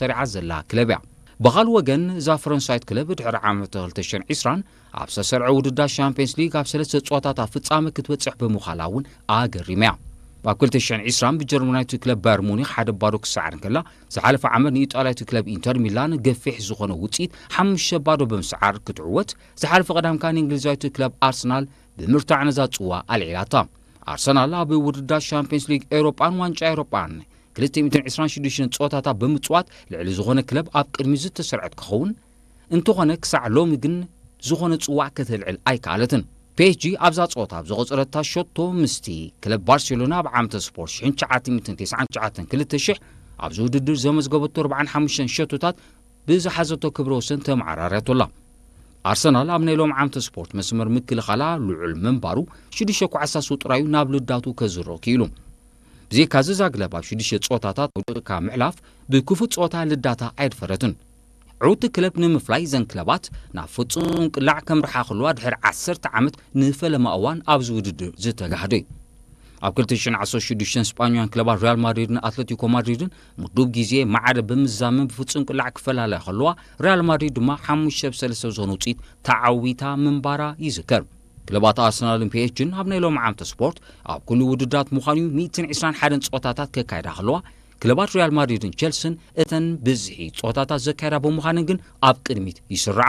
ሰሪዓ ዘላ ክለብ እያ። ብኻልእ ወገን፣ እዛ ፈረንሳይት ክለብ ድሕሪ ዓመት ክልተ ሽሕን ዕስራን ኣብ ዝተሰርዐ ውድድር ሻምፒየንስ ሊግ ኣብ ሰለስተ ጸወታታት ፍጻመ ክትበጽሕ ብምዃላ እውን ኣገሪማ እያ። ኣብ ክልተ ሽሕን ዕስራን ብጀርመናዊት ክለብ ባየር ሙኒክ ሓደ ባዶ ክሰዓር እንከላ፣ ዝሓለፈ ዓመት ንኢጣልያዊት ክለብ ኢንተር ሚላን ገፊሕ ዝኾነ ውጽኢት ሓሙሽተ ባዶ ብምስዓር ክትዕወት፣ ዝሓለፈ ቀዳም ከኣ ንእንግሊዛዊት ክለብ ኣርሰናል ብምርታዕ ነዛ ጽዋ ኣልዒላታ። ኣርሰናል ኣብ ውድድር ሻምፒየንስ ሊግ ኤውሮጳን ዋንጫ ኤውሮጳን ክልተ ሚእትን ዕስራን ሽዱሽተን ጸወታታት ብምጽዋት ልዕሊ ዝኾነ ክለብ ኣብ ቅድሚት ዝተሰርዐት ክኸውን እንተኾነ፣ ክሳዕ ሎሚ ግን ዝኾነ ጽዋዕ ከተልዕል ኣይከኣለትን። ፒ ኤስ ጂ ኣብዛ ጸወታ ኣብ ዘቖጸረታ ሸቶ ምስቲ ክለብ ባርሴሎና ኣብ ዓመተ ስፖርት ሽሕን ትሽዓተ ሚእትን ተስዓን ትሽዓተን ክልተ ሽሕ ኣብዚ ውድድር ዘመዝገበቶ ኣርባዓን ሓሙሽተን ሸቶታት ብዝሓዘቶ ክብረ ወሰን ተመዓራርያቶ ኣላ። ኣርሰናል ኣብ ናይ ሎም ዓመተ ስፖርት መስመር ምክልኻላ ልዑል ምንባሩ ሽዱሽተ ኳዕሳ ስው ጥራዩ ናብ ልዳቱ ከዝሮ ክኢሉ። ብዘይካዚ እዛ ክለብ ኣብ ሽዱሽተ ጸወታታት ወድቕካ ምሕላፍ ብክፉእ ጸወታ ልዳታ ኣየድፈረትን። ዕውቲ ክለብ ንምፍላይ እዘን ክለባት ናብ ፍጹም ቅላዕ ከምርሓ ከለዋ ድሕሪ ዓሰርተ ዓመት ንፈለማ እዋን ኣብዚ ውድድር ዝተጋህደ እዩ። ኣብ ክልተ ሽሕን ዓሰርተ ሽዱሽተን ስጳኛውያን ክለባት ሪያል ማድሪድን ኣትለቲኮ ማድሪድን ምዱብ ግዜ ማዕረ ብምዛመን ብፍጹም ቅላዕ ክፈላለያ ከለዋ፣ ሪያል ማድሪድ ድማ ሓሙሽተ ብ ሰለስተ ብዝኾነ ውጽኢት ተዓዊታ ምንባራ ይዝከር። ክለባት ኣርሰናልን ፒ ኤስ ጂን ኣብ ናይ ሎም ዓመተ ስፖርት ኣብ ኩሉ ውድድራት ምዃኑ እዩ ሚእትን ዕስራን ሓደን ጸወታታት ከካይዳ ከለዋ፣ ክለባት ሪያል ማድሪድን ቸልስን እተን ብዝሒ ጸወታታት ዘካየዳ ብምዃነን ግን ኣብ ቅድሚት ይስርዓ።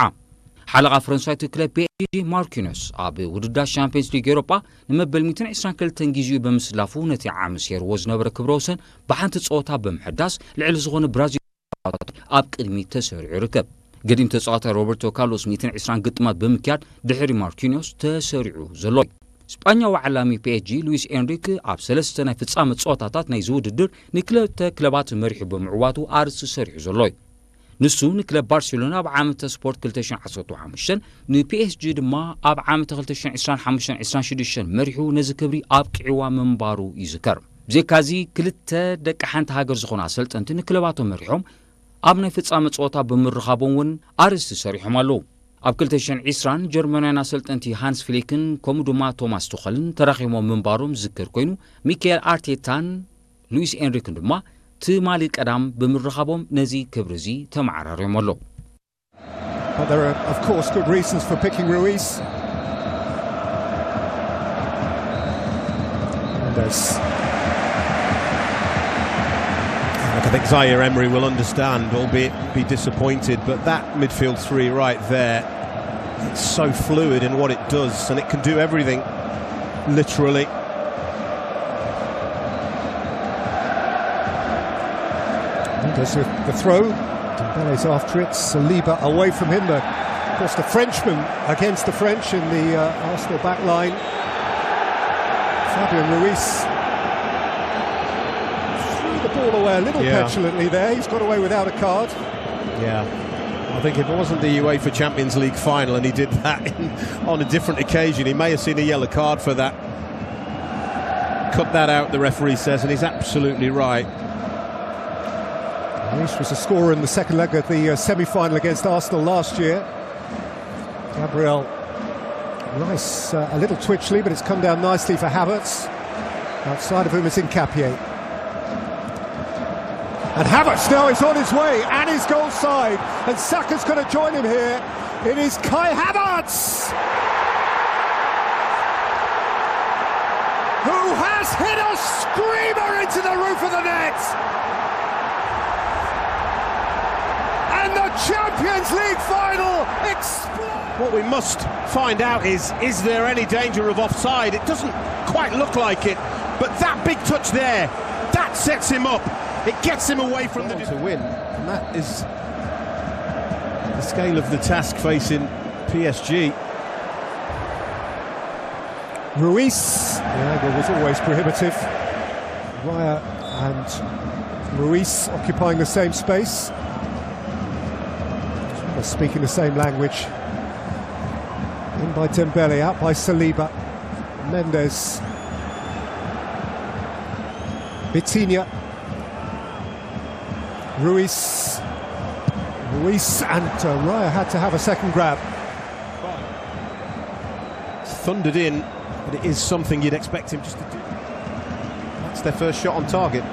ሓለቓ ፈረንሳዊት ክለብ ፒ ኤስ ጂ ማርኪኖስ ኣብ ውድድር ሻምፒየንስ ሊግ ኤውሮጳ ንመበል ሚእትን ዕስራን ክልተን ግዜኡ ብምስላፉ ነቲ ዓሚ ሰይርዎ ዝነበረ ክብረ ወሰን ብሓንቲ ጸወታ ብምሕዳስ ልዕሊ ዝኾነ ብራዚል ኣብ ቅድሚት ተሰሪዑ ይርከብ። ገዲም ተጻዋታይ ሮበርቶ ካርሎስ ሚእትን ዕስራን ግጥማት ብምክያድ ድሕሪ ማርኪኖስ ተሰሪዑ ዘሎ እዩ። ስጳኛዊ ዓላሚ ፒ ኤስ ጂ ሉዊስ ኤንሪክ ኣብ ሰለስተ ናይ ፍጻመ ጸወታታት ናይዚ ውድድር ንክልተ ክለባት መሪሑ ብምዕዋቱ ኣርእስቲ ሰሪሑ ዘሎ እዩ። ንሱ ንክለብ ባርሴሎና ኣብ ዓመተ ስፖርት ክልተ ሽሕን ዓሰርተ ሓሙሽተን፣ ንፒ ኤስ ጂ ድማ ኣብ ዓመተ ክልተ ሽሕን ዕስራን ሓሙሽተን ዕስራን ሽዱሽተን መሪሑ ነዚ ክብሪ ኣብቂዕዋ ምንባሩ ይዝከር። ብዘይካዚ ክልተ ደቂ ሓንቲ ሃገር ዝኾኑ ኣሰልጠንቲ ንክለባቶም መሪሖም ኣብ ናይ ፍጻመ ጸወታ ብምርኻቦም እውን ኣርእስቲ ሰሪሖም ኣለዉ። ኣብ ክልተ ሽሕን ዕስራን ጀርመናውያን ኣሰልጠንቲ ሃንስ ፍሊክን ከምኡ ድማ ቶማስ ቱኸልን ተራኺቦም ምንባሮም ዝዝከር ኮይኑ፣ ሚካኤል ኣርቴታን ሉዊስ ኤንሪክን ድማ ትማሊ ቀዳም ብምርኻቦም ነዚ ክብሪ እዚ ተመዓራርዮም ኣለዉ። But there are, of course, good reasons for picking Ruiz. Mendes. Look, I think Zaire Emery will understand, albeit be disappointed, but that midfield three right there, it's so fluid in what it does, and it can do everything, literally. Mendes with the throw. Dembele's after it. Saliba away from him. The, of course, the Frenchman against the French in the uh, Arsenal back line. Fabian Ruiz threw the ball away a little yeah. petulantly there. He's got away without a card. Yeah. I think if it wasn't the UEFA Champions League final and he did that in, on a different occasion, he may have seen a yellow card for that. Cut that out, the referee says, and he's absolutely right. Reece was a scorer in the second leg of the uh, semi final against Arsenal last year. Gabriel Rice uh, a little twitchy, but it's come down nicely for Havertz. Outside of whom is Nkapie. And Havertz now is on his way and his goal side. And Saka's going to join him here. It is Kai Havertz who has hit a screamer into the roof of the net. And the Champions League final explodes. What we must find out is, is there any danger of offside? It doesn't quite look like it, but that big touch there, that sets him up. It gets him away from the to win, and that is the scale of the task facing P S G. Ruiz, the angle was always prohibitive. Raya and Ruiz occupying the same space. Speaking the same language. In by Dembele, out by Saliba. Mendes. Vitinha. Ruiz. Ruiz and uh, Raya had to have a second grab. Thundered in, but it is something you'd expect him just to do. That's their first shot on target.